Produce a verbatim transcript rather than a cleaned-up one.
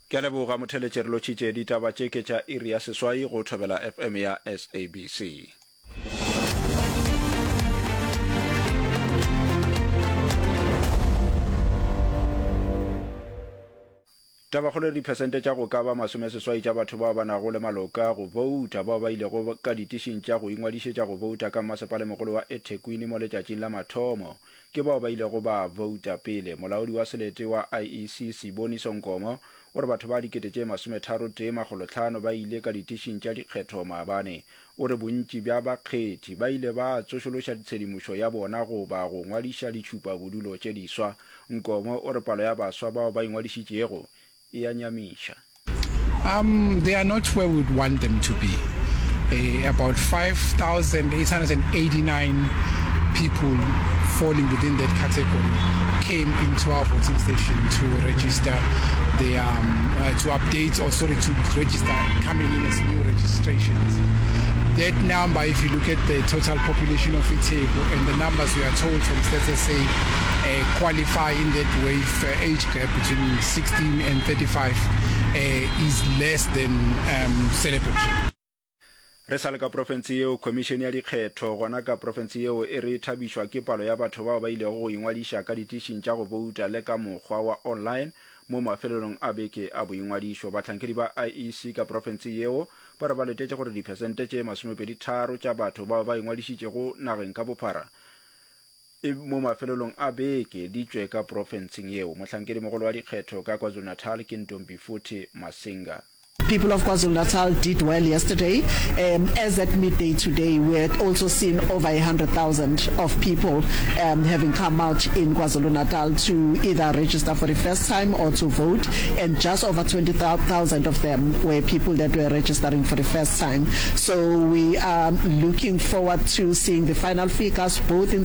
Ke a leboga motheletše re lotšhitše ditaba tše ke tša iri ya seswai go Thobela FM ya SABC. Tabakgolo e re diphesente tša go ka ba masomeseswai tša batho bao ba nago le maloka go bouta bao ba ilego ka ditišing tša go ingwadišetša go bouta ka mmasepalemogolo wa eThekwini mo letšatšing la mathomo ke bao ba ilego ba bouta pele. Molaodi wa selete wa IEC Siboniso Nkomo o re batho ba dikete tše masometharo tee makgolo hlano ba ile ka ditišing tša dikgetho maabane. O re bontši bja bakgethi ba ile ba tsošološa tshedimošo ya bona goba go ngwadiša ditšhupabodulo tše diswa. Nkomo o re palo ya baswa bao ba ingwadišitšego e a nyamiša. Um, they are not where we would want them to be. Uh, about five thousand eight hundred eighty-nine people falling within that category came into our voting station to register their, um, uh, to update or sorry, to register coming in as new registrations. That number, if you look at the total population of iTheku and the numbers we are told from Stats S A, uh, qualify in that wave, uh, age gap between sixteen and thirty-five, uh, is less than, um, celebratory. Re sa le ka profense yeo, Khomišene ya Dikgetho gona ka profense yeo e re e thabišwa ke palo ya batho bao ba ilego go ingwadiša ka ditišing tša go bouta le ka mokgwa wa online mo mafelelong a beke a boingwadišo. Bahlankedi ba I E C ka profense yeo ba re ba letetše gore diphesente tše masomepedi tharo tša batho bao ba ingwadišitšego nageng ka bophara e mo mafelelong a beke di tšwe ka profenseng yeo. Mohlankedimogolo wa dikgetho ka KwaZulu-Natal ke Ntombifuthi Masinga. People of KwaZulu-Natal did well yesterday. Um, as at midday today, we had also seen over a hundred thousand of people, um, having come out in KwaZulu-Natal to either register for the first time or to vote, and just over twenty thousand of them were people that were registering for the first time. So we are looking forward to seeing the final figures, both in